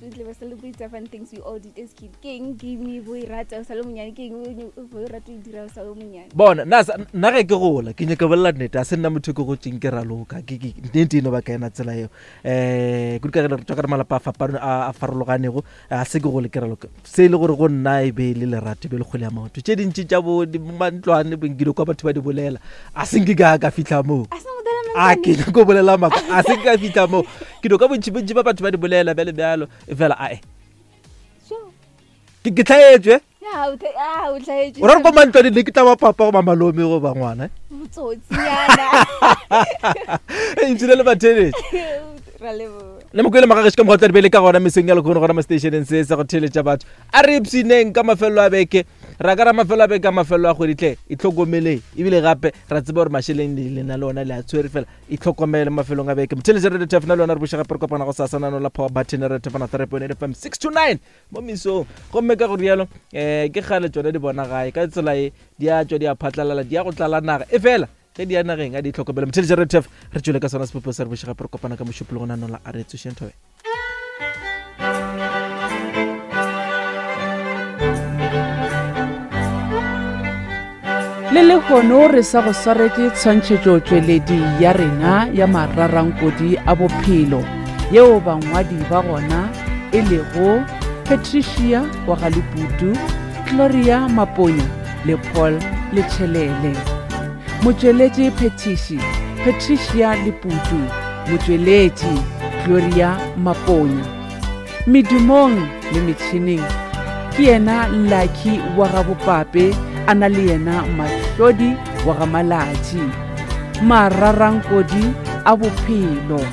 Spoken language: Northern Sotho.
tle ba celebrate fun things we all did as kid. Ke eng game bo e rata o sa le monyane ke eng bo e rata o e dira o sa le monyane? Bona nna nna ge ke gola ke nyaka bolela nnete a se nna motho ke gotseng ke raloka ke ke nnete eno ba ka ena tsela eo um kudu ka ge re tswa ka re malapa a fapano a farologanego a se ke gole ke raloka se e le gore go nna e be e le lerato e be le kgwele ya maoto tše dintši tša bo mantlwane bonkile kwa batho ba di bolela a se nke ka ka fitlha moo a ke nyako bolela maka a se nke ka fitlha moo ke no ka bontši bontši ba batho ba di bolela bjale bjalo e fela ae ke tlhaetswe o ra re ko mantlwane ne ke tla ba papa goba malome goba ngwana ntshile le batheletše le mokwele magageši ka mokgwa tla di bele ka gona mesong ya lekgono gona mo stationeng se sa go theletša batho a re ipshineng ka mafelelo a beke ra ka ra mafelelo a beke ka mafelelo a kgweditlhe itlhokomeleng ebile gape ra tseba gore mašeleng le na le ona le a tshwere fela itlhokomele mafelong a beke motheletša radio tafna le yona re buša gape re kopana go sasa nano la power button radio tafna 3.8 fm 6 to 9 mo mesong gomme ka go rialo um ke kgale tsone di bona gae ka tsela e di a tswa di a phatlalala di ya go tlala naga e fela ge di ya nageng a di itlhokomele motheletša radio taf re tswele ka sona sepopo sa re buša gape re kopana ka mošupologo nano la a re tsošeng thobe Le lehono re sa go swaretše tshwantšhetšotšweledi ya rena ya mararankodi a bophelo yeo bangwadi ba gona e lego Patricia wa ga Leputu, Gloria Maponya le Paul Letšhelele. Motšweletši phethiši Patricia Leputu, motšweletši Gloria Maponya. Medumong le metšhineng ke yena Lucky wa ga Bopape a na le yena Mahlodi wa ga Malatši. Mararankodi a bophelo.